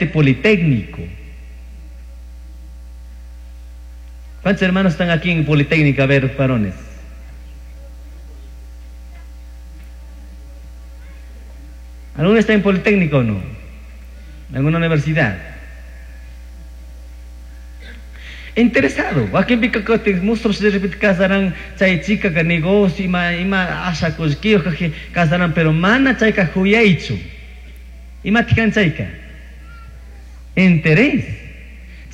Politécnico. ¿Cuántos hermanos están aquí en Politécnica? A ver, varones. ¿Alguno está en Politécnico o no? ¿En alguna universidad? Interesado. Wakinpika kutin musros de repente casaran chay chica negocio ima ima asha kullkiyuq casaran, pero mana chayka huyaychu. Imataq kan chayka? Interés.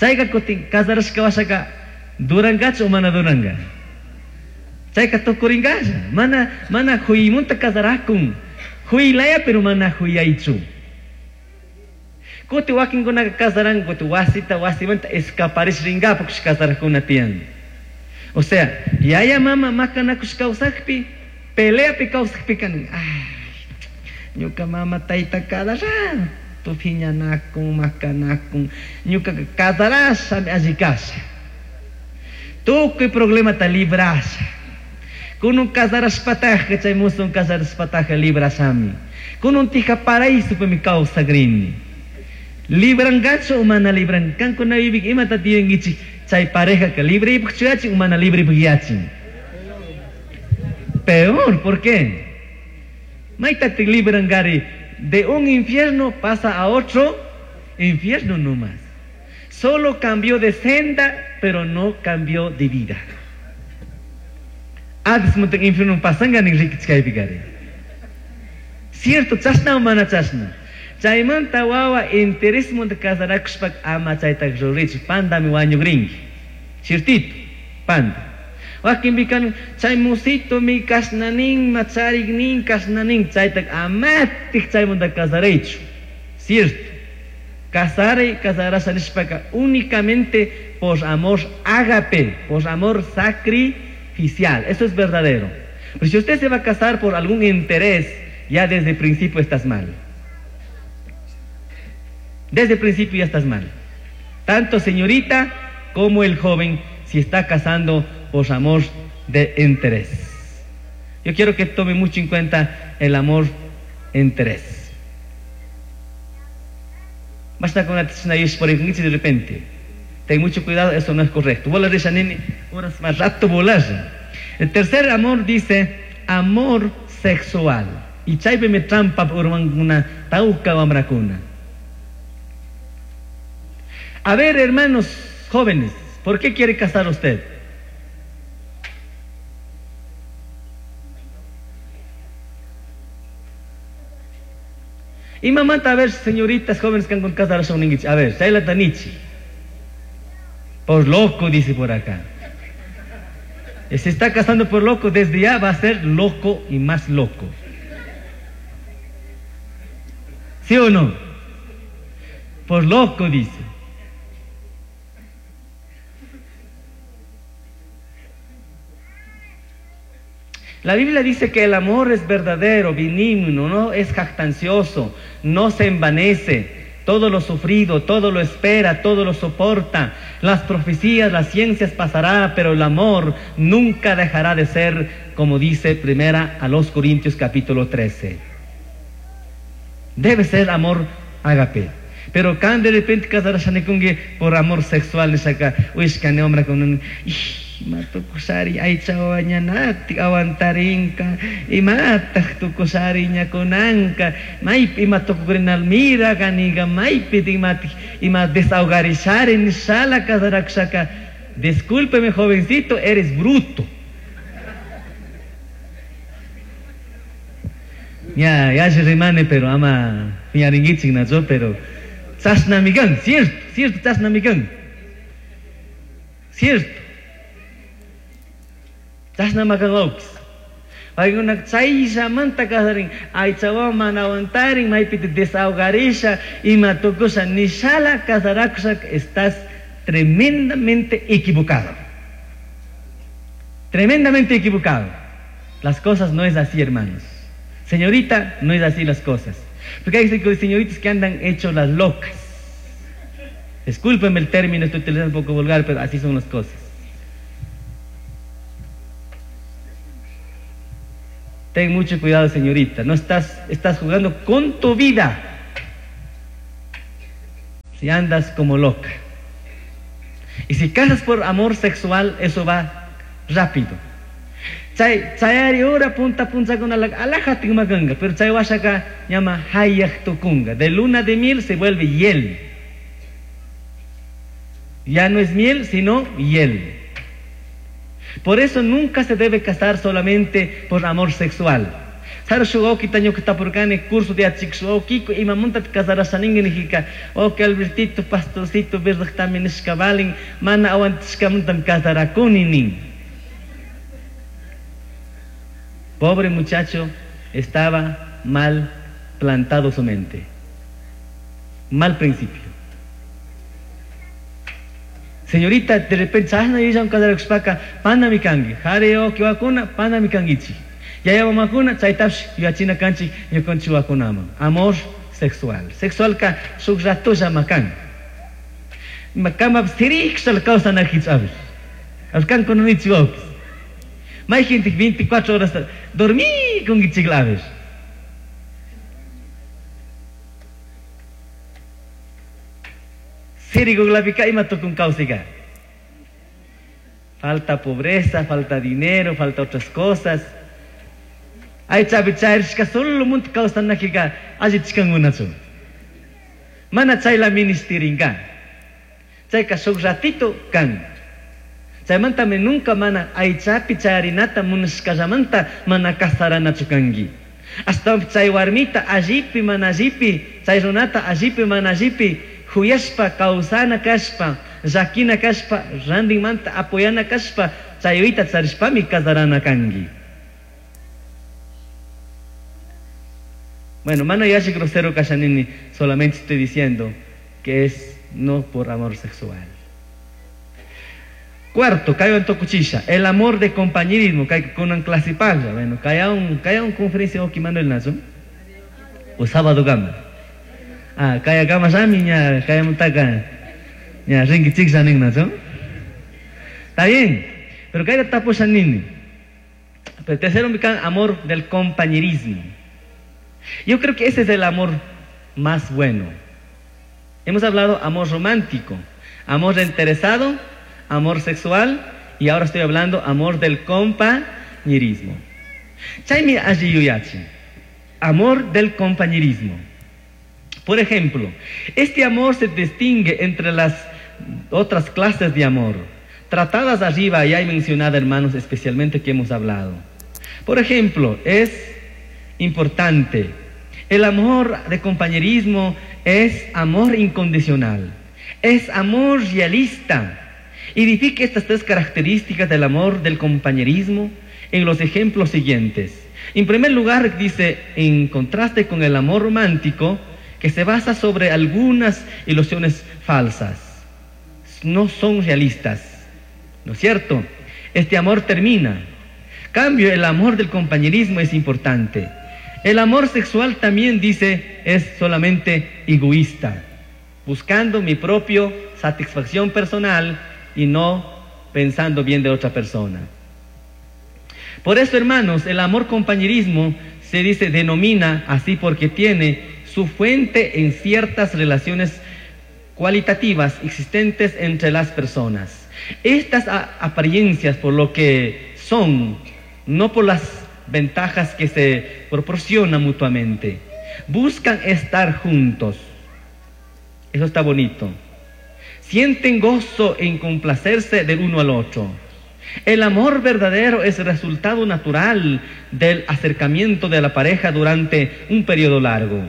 Chayka kutin casarashka washaka durangachu o mana duranga? Chayka tukuringalla. Mana mana huymunta casarakun. Huylaya pero mana huyaychu. Kuti wakinkunaka casaran kuti wasita wasimanta escaparish ringapaq casarajkuna tiyan. O sea, yaya mama makanakush kawsakpi, peleapi kawsakpi kan, ay, ñuka mama tayta cada rato phiñanakun, makanakun, ñuka casarashami alli kasha. Tukuy problemata librasha. Kunun casarashpataqa chay musun casarashpataqa librashami. Kunun tija paraísopimi kawsakrini. Librangachu o mana libran? Kankuna vivik imata tiyankichik chay pareja que librepaq yachin o mana librepaq yachin. Peor, ¿por qué? Maytataq librangari de un infierno pasa a otro infierno nomás. Solo cambió de senda, pero no cambió de vida. Hades munta infierno pasanga nin rikichkaypi. Cierto, chashna o mana chashna. Chaymanta wawa interés munta casarakushpa ama chayta ruraychu pandami wañukrinki. Ciertito, panda. Wakinpika chay musito mi kashnanin machariknin kashnanin chayta amatik chaymanta casaraychu. Cierto. Casare, casarasha nishpaka únicamente por amor ágape, por amor sacrificial. Eso es verdadero. Pero si usted se va a casar por algún interés, ya desde el principio estás mal. Desde el principio ya estás mal. Tanto señorita como el joven, si está casando por amor de interés. Yo quiero que tome mucho en cuenta el amor interés. Basta con la por de repente. Ten mucho cuidado, eso no es correcto. Volar nene, horas más rato volar. El tercer amor dice amor sexual. Y chaypi me trampa por una tauca wamrakuna. A ver, hermanos jóvenes, ¿por qué quiere casar usted? Y mamá, a ver, señoritas jóvenes que han con casar a ver, Shaila Tanichi. Por loco, dice por acá. Y se está casando por loco, desde ya va a ser loco y más loco. ¿Sí o no? Por loco, dice. La Biblia dice que el amor es verdadero, benigno, no es jactancioso, no se envanece, todo lo sufrido, todo lo espera, todo lo soporta. Las profecías, las ciencias pasará, pero el amor nunca dejará de ser, como dice primera a los Corintios capítulo 13. Debe ser amor ágape. Pero cuando de repente casarashanikungi por amor sexual, nishaka, uishkani hombre con un... Matukusari aychawa ñanatik aguantarinka imataq tukusari ñakunanka maypi ima tukurinal mira kaniga maypi imatik ima desahogarishari nishala casarakushaka. Discúlpeme, jovencito, eres bruto. Ya, ya se rimane, pero ama piñaringuichik nacho, pero chashnamikan, cierto, cierto, chashnamikan. Cierto. Chashna makanwawkis. Paykuna chayllamanta kasarin, aychawan mana aguantarin, maypi te desahogarisha, ima tukusha, nishala kasarakusha, estás tremendamente equivocado. Tremendamente equivocado. Las cosas no es así, hermanos. Señorita, no es así las cosas. Porque hay señoritas que andan hecho las locas. Discúlpenme el término, estoy utilizando un poco vulgar, pero así son las cosas. Ten mucho cuidado, señorita. No estás jugando con tu vida. Si andas como loca. Y si casas por amor sexual, eso va rápido. Chay chayari hora punta punta con la alaja tigmaganga, pero chay washaka llama hayak tukunga. De luna de miel se vuelve hiel. Ya no es miel, sino hiel. Por eso nunca se debe casar solamente por amor sexual. Saro shugoki taño que tapurcani curso de achik imamunta casarashaninga nijika o que Albertito pastorcito verdad nishkabalin mana aguantishkamuntam casarakuni nin. Pobre muchacho, estaba mal plantado su mente. Mal principio. Señorita, de repente, chashna yuyashun casarakushpaka panami kanki. Jari wawki panami kankichik. Yaya mamakuna chaytapish yuyachina kanchik ñukanchik wawakunaman. Amor sexual. Sexualka shuk ratollama kan. Kama sirikshal kawsanajichu a ver. Kankuna nichik wawkis. Mayjintik 24 horas dormí kunkichik a ver. Sirikuklapika ima tukun kawsayka. Falta pobreza, falta dinero, falta otras cosas. Aychapi chayrishka solo munta kawsanakika allichkankunachu. Mana chayla ministirinka. Chayka shuk ratito kan. Chaymantami nunca mana aychapi chayarinata munashkallamanta mana kasaranachu kanki. Ashtawanpish chay warmita allipi mana allipi, chay runata allipi mana allipi, huyashpa kawsana kashpa, llakina kashpa, rantinmanta apoyana kashpa, chayuyta charishpami kasarana kanki. Bueno, mana yalli grosero kashanini, solamente estoy diciendo que es no por amor sexual. Cuarto, kaywan tukuchisha, el amor de compañerismo, kay kunan clase paga. Bueno, kaya un conferencia oki Manuel nazo. O sábado gama. Ah, kaya gama shami ña, kaya mutaka ña rinki chiksa nin nazo. Está bien, pero kaya tapusha nini. Pero tercero, mi can, amor del compañerismo. Yo creo que ese es el amor más bueno. Hemos hablado amor romántico, amor interesado, amor sexual, y ahora estoy hablando amor del compañerismo. Chaymi alli yuyachi, amor del compañerismo. Por ejemplo, este amor se distingue entre las otras clases de amor, tratadas arriba y hay mencionado, hermanos, especialmente que hemos hablado. Por ejemplo, es importante, el amor de compañerismo es amor incondicional, es amor realista. Identifique estas tres características del amor del compañerismo en los ejemplos siguientes. En primer lugar, dice, en contraste con el amor romántico, que se basa sobre algunas ilusiones falsas. No son realistas, ¿no es cierto? Este amor termina. Cambio, el amor del compañerismo es importante. El amor sexual también, dice, es solamente egoísta, buscando mi propia satisfacción personal y no pensando bien de otra persona. Por eso, hermanos, el amor compañerismo se dice, denomina así porque tiene su fuente en ciertas relaciones cualitativas existentes entre las personas. Estas apariencias, por lo que son, no por las ventajas que se proporcionan mutuamente, buscan estar juntos. Eso está bonito. Sienten gozo en complacerse del uno al otro. El amor verdadero es resultado natural del acercamiento de la pareja durante un periodo largo.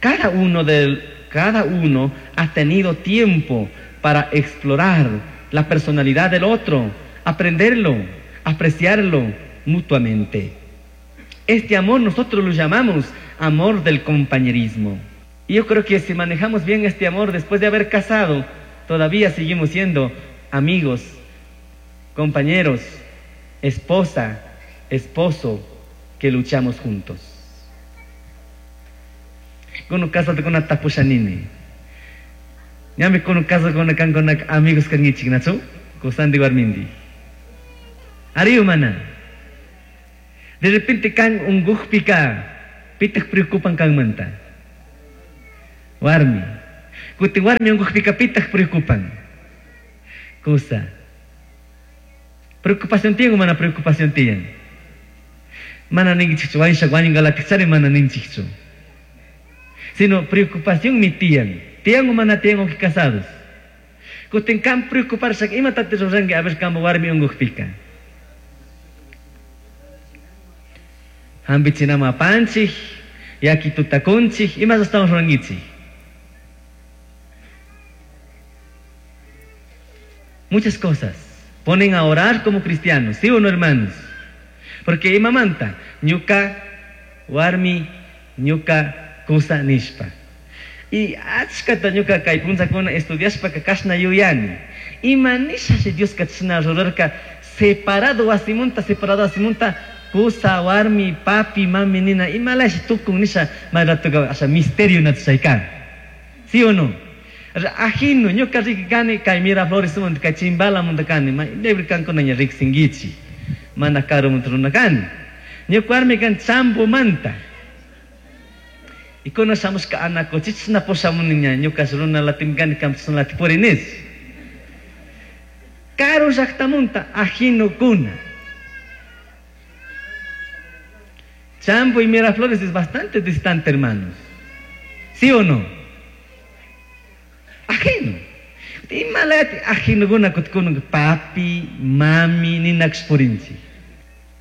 Cada uno ha tenido tiempo para explorar la personalidad del otro, aprenderlo, apreciarlo mutuamente. Este amor nosotros lo llamamos amor del compañerismo. Y yo creo que si manejamos bien este amor después de haber casado, todavía seguimos siendo amigos, compañeros, esposa, esposo, que luchamos juntos. Kono casate con tapushanini. Ñami kono casa con kan con amigos kangichik nachu, kosandi warmindi. Ari humana. De repente kan unguhpika, pitaq preocupan kan manta. Warmi. Kutin warmi unqukpika pitaq preocupan? Kusa. Preocupación tiyan o mana preocupación tiyan? Mana ninkichikchu wañusha wañunqalatiqchari mana ninchikchu. Sino preocupacionmi tiyan. Tiyan o mana tiyan wawqi casados. Kutin kan preocuparshaka imatataq ruranki a ver kanpa warmi unqukpika? Hampichinaman apanchik, yakituta kunchik, imas ashtawan rurankichik? Muchas cosas. Ponen a orar como cristianos, ¿sí o no, hermanos? Porque imamanta ñuka warmi ñuka kusa nishpa. Y achkata ñuka kay punllakuna estudiashpaka kashna yuyani. Ima nishashi Dioska chashna rurarka separado wasimunta, separado wasimunta kusa, warmi, papi, mami nina imalashi tukun nisha may ratoka asha misterio chay kan. ¿Sí o no? Ajino ñuka riki kani kay Miraflores manta kay Chimbalamanta kani may libre kankuna ña riksinkichik. Mana karumanta runa kani. Ñuka warmi kan Chambomanta. Y kuna shamushka Anacochichna pushamuni ña ñuka runa latim kani kampas lati purinis. Karu llaktamunta ajinokuna. Chambo y Miraflores es bastante distante, hermanos. ¿Sí o no? Ajeno. Imalati ajinokuna kutkuna papi, mami, ninakush purinchik.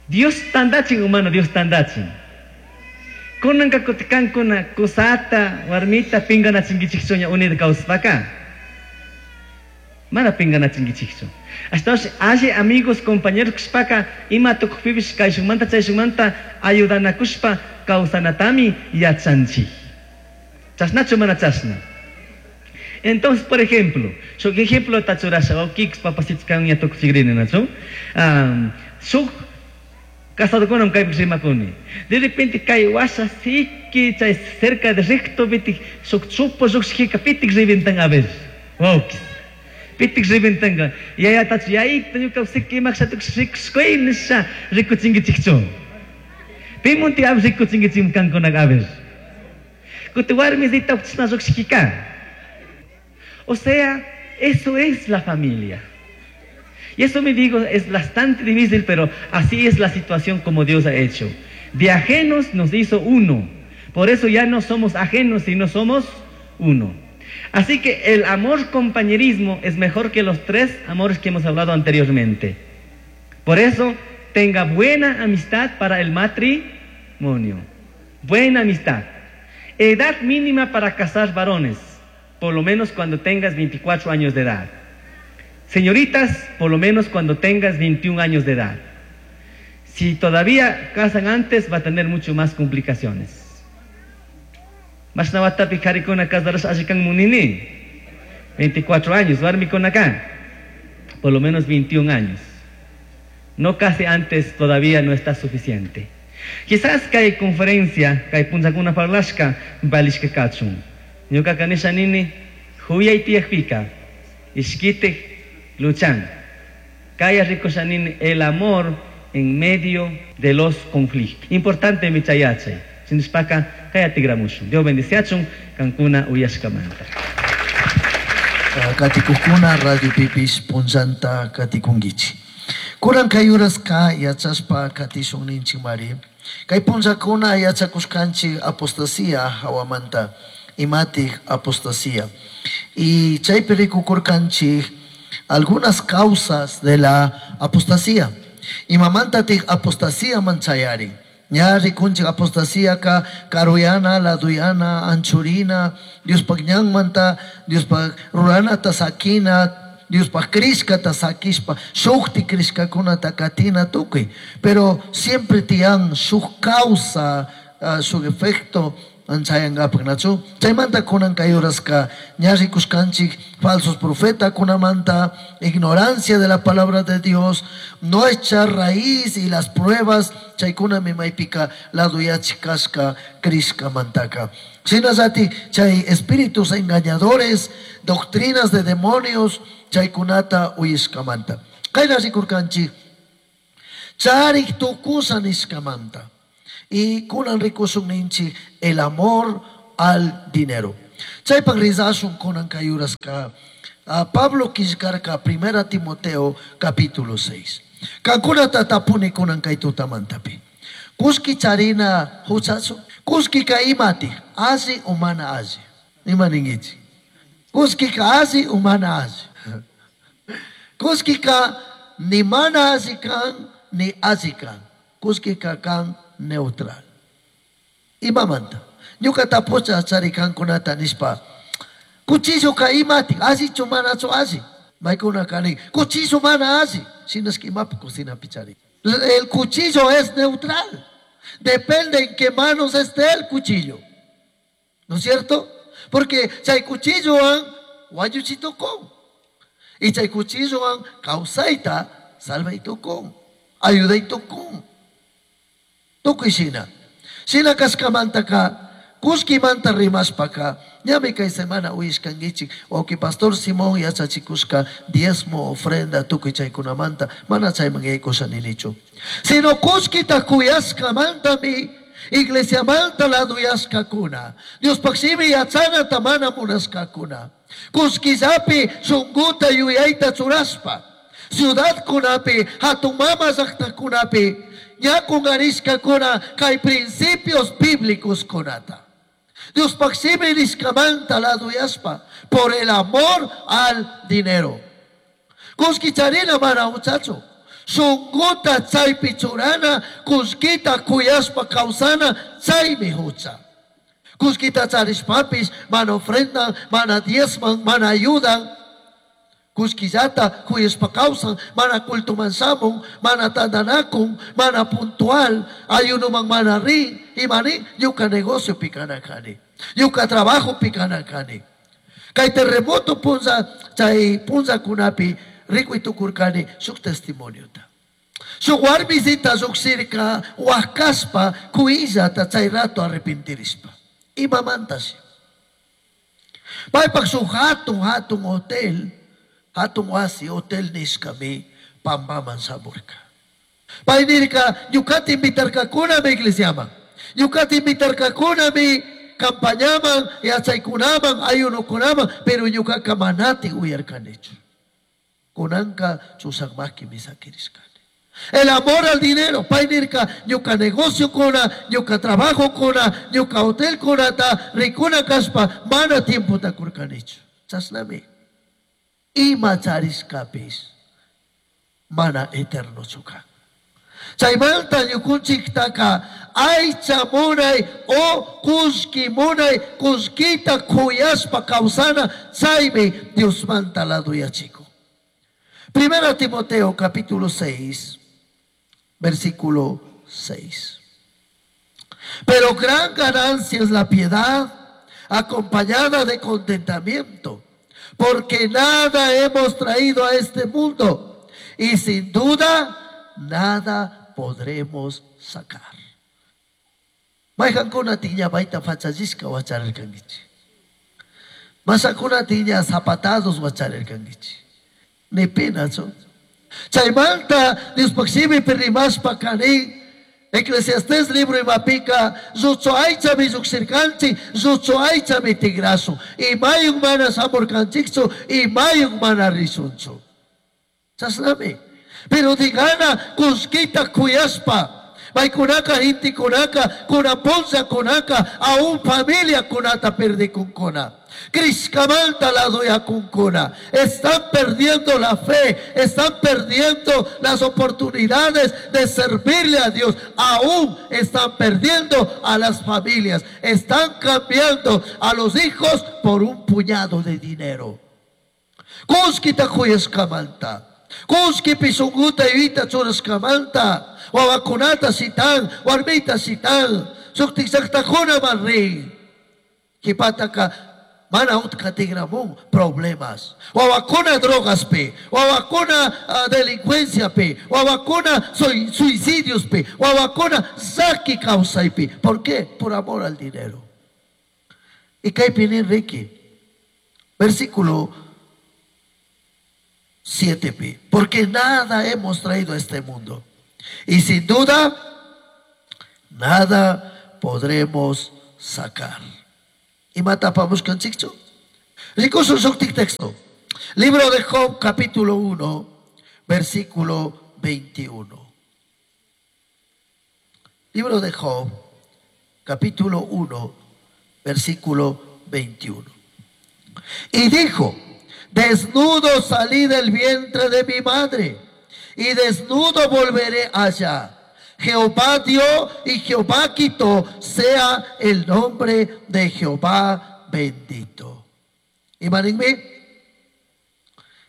Dios tandachin, humano, Dios tandachin. Kunanka kutikankuna kusata, warmita pinganachinkichikchu ña unida kawsapaka. Mana pinganachinkichikchu. Ashtawanshi alli amigos, compañeros kushpaka ima tukukpipish kayshunmanta chayshunmanta ayudanakushpa kawsanatami yachanchik. Chashnachu mana chashna. Entonces, por ejemplo, shuk ejemplo tachurasha, wawkikis papacitos kan ña tukuchikrini, nachu? Shuk casadokunam kaypi rimakuni. De repente kay washa siki chay cerca de recto pitik shuk chupo lluqshikika pitik reventan a ver. Wawkis. Pitik reventanka. Yayatachu yayita ñuka siki imaksha tukush rikushkuy nisha rikuchinkichikchu. Pimunti a rikuchinkichik kankunaka a ver. Kuti warmisita chashna lluqshikika. O sea, eso es la familia. Y eso me digo, es bastante difícil, pero así es la situación como Dios ha hecho. De ajenos nos hizo uno. Por eso ya no somos ajenos, sino somos uno. Así que el amor compañerismo es mejor que los tres amores que hemos hablado anteriormente. Por eso, tenga buena amistad para el matrimonio. Buena amistad. Edad mínima para casar varones, por lo menos cuando tengas 24 años de edad. Señoritas, por lo menos cuando tengas 21 años de edad. Si todavía casan antes, va a tener mucho más complicaciones. Mashna watapi karikuna casarasha allikan munini. 24 años, warmikuna acá. Por lo menos 21 años. No casi antes todavía no está suficiente. Quizás kay conferencia, kay punllakuna parlashka, valishka kachun. Ñuka kanisha nini, huyay tiyakpika, ishkitik luchan. Kaya rikusha nini el amor en medio de los conflictos. Importante mi chayachay. Sinishpaka kaya tigramushun. Dios bendiciachun, kankuna uyashkamanta. Katikukuna Radio Pipis punllanta katikunkichik. Kunan kay uraska yachashpa katishun ninchik mari. Kay punllakuna yachakushkanchik apostasía hawamanta. Imatik apostasía. Y chaypi rikukurkanchik algunas causas de la apostasía. Imamantatik apostasía manchayari. Ña rikunchik apostasía ka karuyana, laduyana, anchurina, Diospaj ñanmanta, Diospaj ruranata sakina, Diospaj krishkata sakishpa, shukti krishkakunata katina tukuy. Pero siempre tiyan shuk causa, shuk efecto anchayankapak, nachu? Chaymanta kunan kay uraska ña rikushkanchik falsos profeta kunamanta, ignorancia de la palabra de Dios, nuestra raíz y las pruebas, chaykunami maypika laduyachik kashka krishkamantaka. Shinallati chay espíritus engañadores, doctrinas de demonios, chaykunata uyishkamanta. Kayna rikurkanchik charik tukusa nishkamanta. Y kunan rikushun ninchik el amor al dinero. Chaypaq rizashun kunan kay uraska Pablo quillcarka Primera Timoteo capítulo 6. Kankunata tapuni kunan kay tutamantapi. Kullki charina huchachu? Kullkika imati? Alli o mana alli? Ima ninkichik? Kullkika alli o mana alli? Kullkika ni mana alli kan ni alli kan. Kullkika kan neutral. Imamanta? Ñuka tapucha chari kankunata nishpa. Cuchilloka imati? Allichu manachu alli? Maykunaka nin, cuchillo mana alli. Shinashka imapi cocinapi chari. El cuchillo es neutral. Depende en qué manos esté el cuchillo. ¿No es cierto? Porque chay cuchillowan wañuchitukun. Y chay cuchillowan kawsayta salvaytukun. Ayudaytukun. Tukuy shina. Shina kashkamantaka kullkimanta rimashpaka ñami kay semana uyashkankichik wawqi pastor Simón yachachikushka diezmo ofrenda tukuy chaykunamanta mana chayman yaykusha ninichu. Sino kullkita kuyashkamantami iglesiamanta laduyashkakuna. Diospaj shimi yachanata mana munashkakuna. Kullkillapi shunkuta yuyayta churashpa. Ciudadkunapi, hatun mama llaqtakunapi, ña kungarishkakuna kay principios bíblicos kunata. Diospaj shimi nishkamanta laduyashpa por el amor al dinero. Kullki charina mana huchachu. Shunkuta chaypi churana, kullkita kuyashpa kawsana, chaymi hucha. Kullkita charishpapis, mana ofrendan, mana diezman, mana ayudan. Kullkillata kuyashpa kawsan, mana cultoman shamun, mana tandanakun, mana puntual, ayunoman mana rin, imani, ñuka negocio pikana kani, ñuka trabajo pikana kani. Kay terremoto punza, chay punzakunapi, rikuy tukurkani shuk testimoniota. Shuk warmisita llukshirka wakashpa kuyillata chay rato arrepentirishpa. Imamantashi. Paypak shuk hatun hatun hotel, hatun wasi hotel nishkami pampaman shamurka. Pay nirka ñukata invitarkakunami iglesiaman. Ñukata invitarkakunami campañaman, yachaykunaman, ayunokunaman, pero ñukaka manati uyarkanichu. Kunanka chusakmaki misakirishkani. El amor al dinero, pay nirka ñuka negocio kuna, ñuka trabajo kuna, ñuka hotel kunata, rikuna kashpa, mana tiempota kurkanichu. Chashnami. Ima charishkapis mana eternochu kan. Chaymanta ñukunchiktaka aycha munay o kullki munay, kullkita kuyashpa kawsana, chaymi Diosmanta laduyachikun. Primera Timoteo capítulo 6, versículo 6. Pero gran ganancia es la piedad acompañada de contentamiento, porque nada hemos traído a este mundo y sin duda nada podremos sacar. Mayqankuna tiña mayta fachallishka wacharirkankichik. Masakuna tiña zapatados wacharirkankichik. Ni penachu. Chaymanta Diospaj shimipi rimashpa kanin Eclesiastés libro imapika lluchu aychami llukshirkanchik, lluchu aychami tigrashun. Imayuk mana shamurkanchikchu, imayuk mana rishunchu. Chashnami. Pero digana kullkita kuyashpa, paykunaka gentekunaka, kunapunllakunaka, aún familia kunata perdikunkuna. Crishkamanta ladoyakunkuna. Están perdiendo la fe, están perdiendo las oportunidades de servirle a Dios. Aún están perdiendo a las familias. Están cambiando a los hijos por un puñado de dinero. Kullkita kuyashkamanta. Kullkipi shunkuta yuyayta churashkamanta. Wawakunata shitan, warmita shitan. Shuktik llaqtakunaman rin. Qhipataka mana utka tigramun problemas. Wawakuna drogaspi, wawakuna delincuenciapi, wawakuna suicidiospi, wawakuna llaki kawsaypi. ¿Por qué? Por amor al dinero. Y kaypi nin riki, versículo 7pi. Porque nada hemos traído a este mundo. Y sin duda, nada podremos sacar. Imata apamushkanchikchu? Rikushun shuktik texto. Libro de Job, capítulo 1, versículo 21. Libro de Job, capítulo 1, versículo 21. Y dijo: desnudo salí del vientre de mi madre, y desnudo volveré allá. Jehová dio y Jehová quitó, sea el nombre de Jehová bendito. Ima ninmi?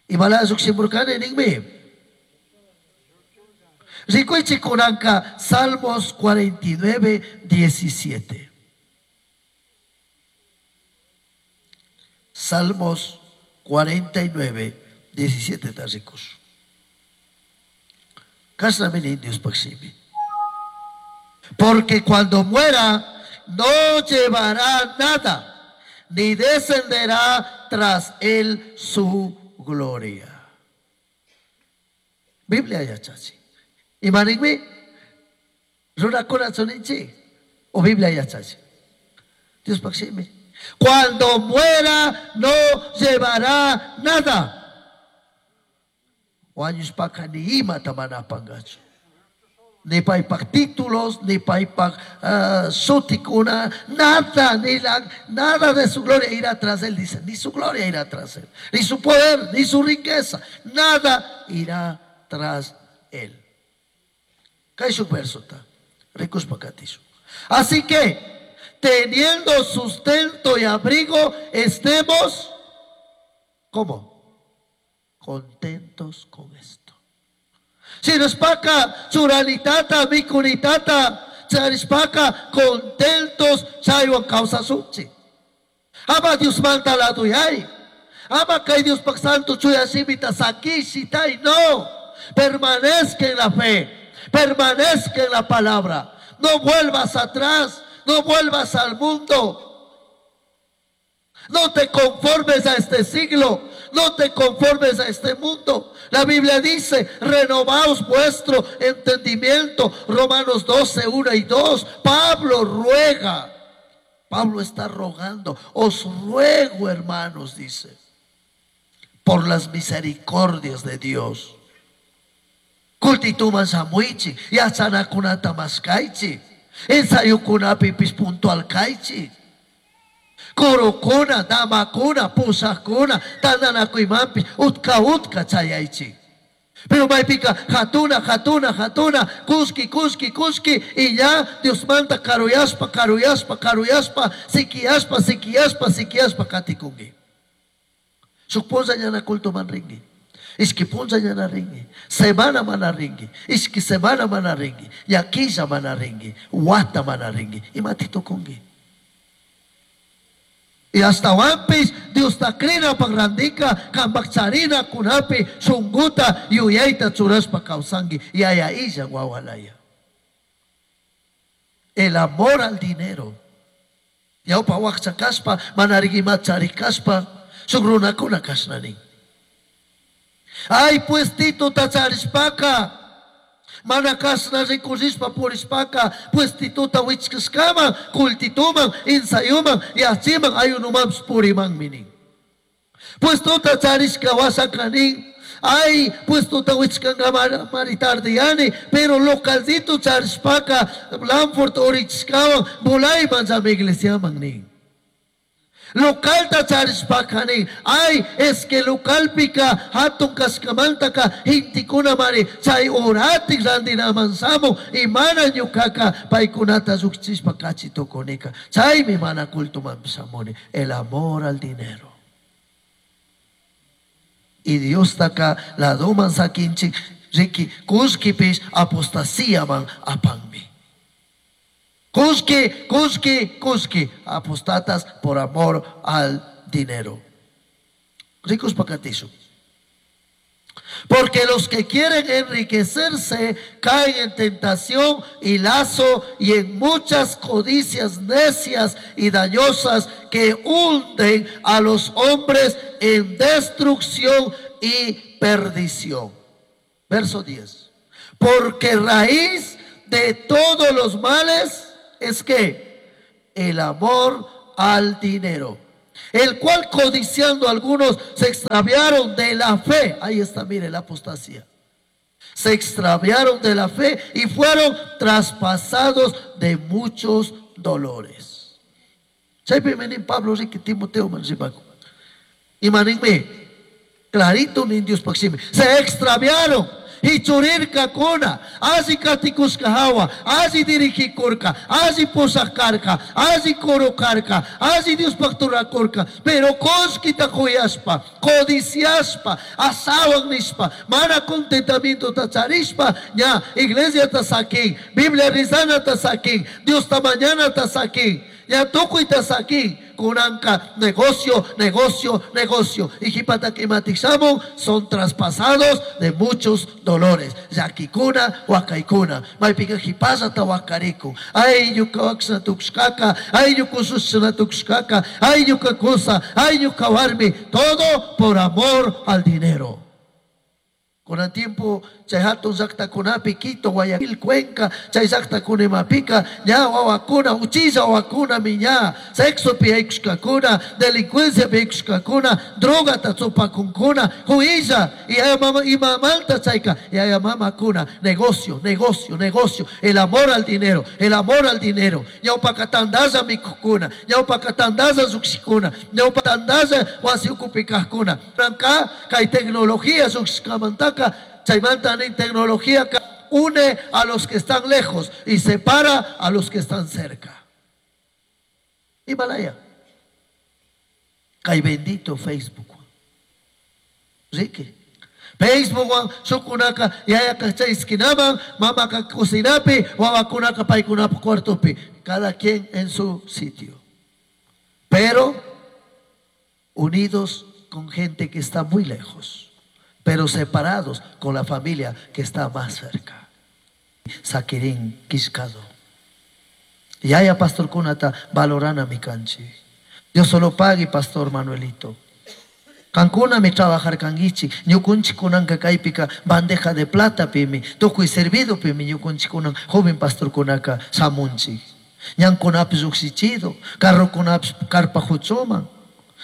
Imala lluqshimurqani ninmi. Rikuychik kunanka Salmos 49, 17. Salmos 49, 17 ta rikush. Kashnami nin Diospaj shimi. Porque cuando muera, no llevará nada, ni descenderá tras él su gloria. Biblia yachachi. Ima ninmi? Runakuna chuninchi. O Biblia yachachi. Diospaj shimi. Cuando muera, no llevará nada. Wañushpaka ni imata mana apangachu. Ni paypaj títulos, ni paypaj sutikuna, nada, ni la, nada de su gloria irá tras él, dice, ni su gloria irá tras él, ni su poder, ni su riqueza, nada irá tras él. Kay shuk verso ta, rikushpa katishu. Así que, teniendo sustento y abrigo, estemos, ¿cómo? Contentos con esto. Shinashpaka, churanitata, mikunitata, charishpaka, contentos, chaywan kawsasunchik. Ama Diosmanta laduyay. Ama kay Diospaj santo chuya shimita sakishitay. No. Permanezca en la fe. Permanezca en la palabra. No vuelvas atrás. No vuelvas al mundo. No te conformes a este siglo. No te conformes a este mundo. La Biblia dice, renovaos vuestro entendimiento. Romanos 12, 1 y 2. Pablo ruega. Pablo está rogando. Os ruego, hermanos, dice, por las misericordias de Dios. Kultituman shamuichi, yachanakunata mashkaichi, ensayukunapipish puntual kaichi. Kurukuna, damakuna, pusakuna, tandanakuymanpish, utka utka chayaychi. Pero maypika hatuna, hatuna, hatuna, kuski, kuski, kuski, y ya Dios manda karuyaspa, karuyaspa, karuyaspa, sikiaspa, sikiaspa, sikiaspa katikungi. Shuk punlla ñana culto man ringi. Ishki punlla ñana ringi. Semana mana ringi. Ishki semana mana ringi. Yakilla mana ringi. Wata mana ringi. Imati tukungi. Y hasta wampis Dios ta krina pagrandika, kambakcharina kunapi, shunguta, yuyayta churaspa kawsangi, yaya illa wawalaya. El amor al dinero. Yaupa wakcha kaspa, manarigima charikaspa, shugrunakuna kashnani. Ay, pues tito tacharishpaka, mana kasna rikushishpa purishpaka, pues tituta wichkishkaman, kultituman, insayuman, yachiman, ayunuman puriman minin. Pues tuta charishka wasakanin, ay, pues tuta wichkanga maritardiani, pero localcito charishpaka, Blanford orichkawan, bulayman sa iglesia nin. Localta charishpakani, ay, es que localpika, hatun kaskamantaka, hintikuna mari, chay oratik randina mansamo, y mana ñukaka, paykunata lluqchishpa kachitukunika, chaymi mana culto mansamuni, el amor al dinero. Y Dios taka la doman sakinchik, riki, kushkipis apostasía man apanmi. Kushki, kushki, kushki, apostatas por amor al dinero. Ricos pacatizo. Porque los que quieren enriquecerse caen en tentación y lazo y en muchas codicias necias y dañosas que hunden a los hombres en destrucción y perdición. Verso 10. Porque raíz de todos los males es que el amor al dinero, el cual codiciando algunos se extraviaron de la fe. Ahí está, mire, la apostasía. Se extraviaron de la fe y fueron traspasados de muchos dolores. Chaypi nin Pablo riki Timoteo man rimaku. Imaninmi, clarito nin Diospaj shimi. Se extraviaron. Hichurirkakuna, alli katikushka hawa, alli dirigikurka, alli pushaj karka, alli coro karka, alli Diospaj rurakurka, pero kullkita kuyashpa, codiciashpa, ashawan nishpa, mana contentamiento charishpa, ña iglesiata sakin, Biblia rizanata sakin, Diosta mañanata sakin, ña tukuyta sakin, kunanka negocio, negocio, negocio. Y jipata kimatik shamun son traspasados de muchos dolores. Llakikuna, wakaykuna. Maypika jipasata wakarikun. Ay, ñuka wakshna tukushkaka, ay, ñuka usushna tukushkaka, ay, ñuka kusa, ay, ñuka warmi. Todo por amor al dinero. Con el tiempo, chay hatun llaqtakunapi, Quito, Guayaquil, Cuenca, chay llaqtakunamapika, ña wawakuna, uchilla wawakuna mi ña, sexopi haykushkakuna, delincuenciapi haykushkakuna, drogata chupakunkuna, huilla, y yaya mama, imamanta chayka, yaya mamakuna, negocio, negocio, negocio, el amor al dinero, el amor al dinero, ñawpaka tandalla mikukuna, ñawpaka tandalla lluqshikuna, ñawpa tandalla wasi ukupi kajkuna, Ranka, kay tecnología lluqshkamantaka, chaymanta nin tecnología une a los que están lejos y separa a los que están cerca. Himalaya. Kay bendito Facebook. Ricky. Facebook shukunaka yayaka chay esquinaman, mamaka cocinapi, wawakunaka paykunapa cuartopi. Cada quien en su sitio. Pero unidos con gente que está muy lejos, pero separados con la familia que está más cerca. Sakirin kishkado. Yaya pastor kunata valorana mi kanchi. Dios solo pague, pastor Manuelito. Kankuna mi trabajar kangichi, ñukunchi kunanka kaypika bandeja de plata pimi, tukuy servido pimi ñukunchi kunan joven pastor kunaka samunchi. Ñankunapish llukshichido, carrokunapish carpa huchuman.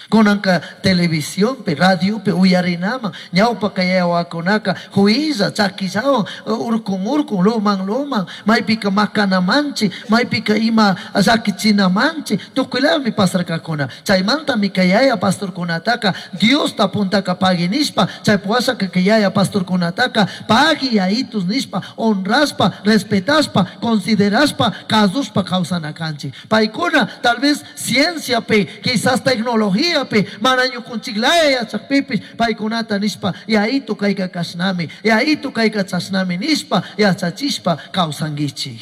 Kunanka televisionpi, radiopi uyarinaman, ñawpaka yawakunaka huilla, chakillawan, urkun urkun, luman luman, maypika makanamanchi, maypika ima llakichinamanchi, tukuylami pasarkakuna. Chaymantami kay yaya pastorkunataka Diosta puntaka pagui nishpa, chay puwashaka kay yaya pastorkunataka pagui yayitus nishpa, honraspa, respetaspa, consideraspa, kasushpa kawsanakanchik. Paykuna tal vez cienciapi, quizás tecnología pi, mana ñukunchiklaya yachakpipish, paykunata nishpa, yayitu kayka kashnami, yayitu kayka chashnami nishpa, yachachishpa kawsankichik.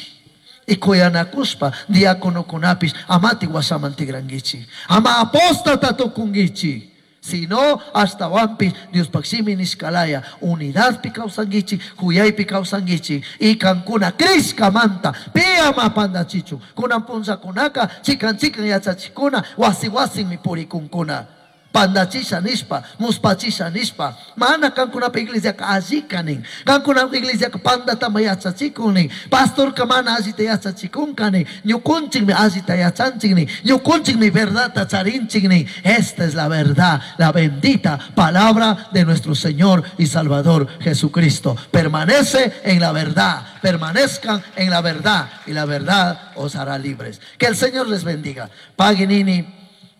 Y kuyanakushpa diáconokunapish amati washaman tigrankichik. Ama apóstata tukunkichik. Sino hasta wampi Diospaj shimi nishkalaya unidadpi kawsankichik, kuyaypi kawsankichik y kankuna crishkamanta pi ama pandachichun. Kunan punllakunaka chikan chikan yachachikuna wasi wasinmi purikunkuna. Pandachisha nishpa, muspachisha nishpa, mana kankunapa iglesiaka allika nin, kankunapa iglesiaka pandatama yachachikun nin, pastorka mana allita yachachikunka nin, ñukunchikmi allita yachanchik nin, ñukunchikmi verdadta charinchik nin. Esta es la verdad, la bendita palabra de nuestro Señor y Salvador Jesucristo. Permanece en la verdad, permanezcan en la verdad y la verdad os hará libres. Que el Señor les bendiga. Pagui nini,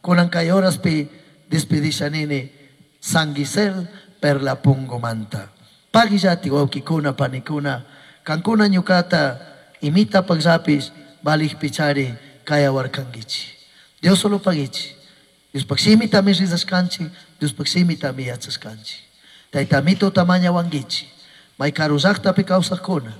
kunan kay horaspi despedisha nini, San Gisel per la pungomanta. Paguillati wawkikuna panikuna, kankuna ñukata imita pagllapis valij pichari kayawarkankichi. Dios solo paguichi. Diospaj shimitami rizashkanchik, Diospaj shimitami yachashkanchik. Taytamito tamaña wankichi. May karu llaqtapi kawsaqkuna,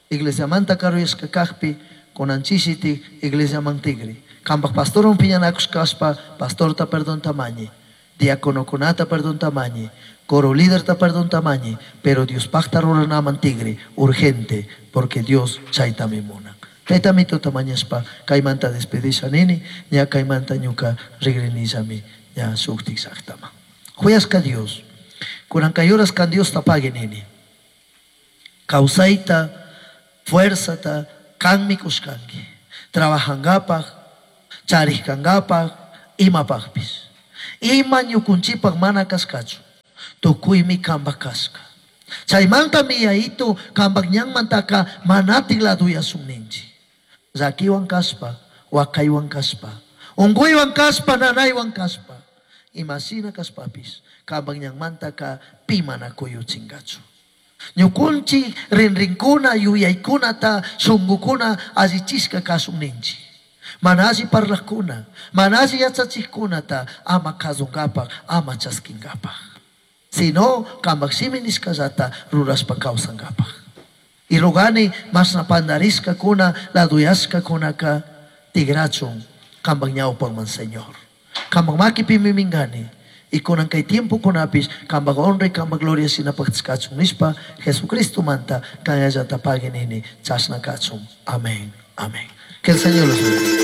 iglesiamanta karuyashka kajpi, kunanchishitik iglesiaman tigri. Kampaj pastorwan piñanakushkashpa, pastorta perdón tamañi, diáconokunata perdón tamañi, coro líderta perdón tamañi, pero Diospajta ruranaman tigri, urgente, porque Dios chaytami munan. Taytamito tamañashpa, kaymanta despedisha nini, ña kaymanta ñuka rigrinillami, ña shuktik llaqtaman. Huyashka Dios, kunan kay horas kan Dios tapague nini. Kawsayta, fuerzata, kanmi kushkanki. Trabajangapaj, charishkangapaj, Imapajpish. Ima ñukunchikpak mana kashkachu. Tukuymi kampak kashka. Chaymantami Yayitu kampak ñanmantaka manatik laduyasun ninchik. Llakiwan kashpa, wakaywan kashpa, unkuywan kashpa, nanaywan kashpa, imashina kashpapish kampak ñanmantaka pi mana kuyuchinkachu. Ñukunchik rinrinkuna, yuyaykunata, shunqukuna allichishka kashun ninchik. Mana alli parlajkuna, mana alli yachachijkunata ama kazunkapak, ama chaskinkapak. Sino kampak shimi nishkallata rurashpa kawsankapak. Y rogani mashna pandarishkakuna, laduyashkakunaka tigrachun kampak ñawpakman, Señor. Kampak makipimi minkani. Y kunan kay tiempokunapish kampak honra y kampak gloria shinapak kachun nishpa Jesucristomanta kanyallata pagui nini chashna kachun. Amén. Amén. Que el Señor los bendiga.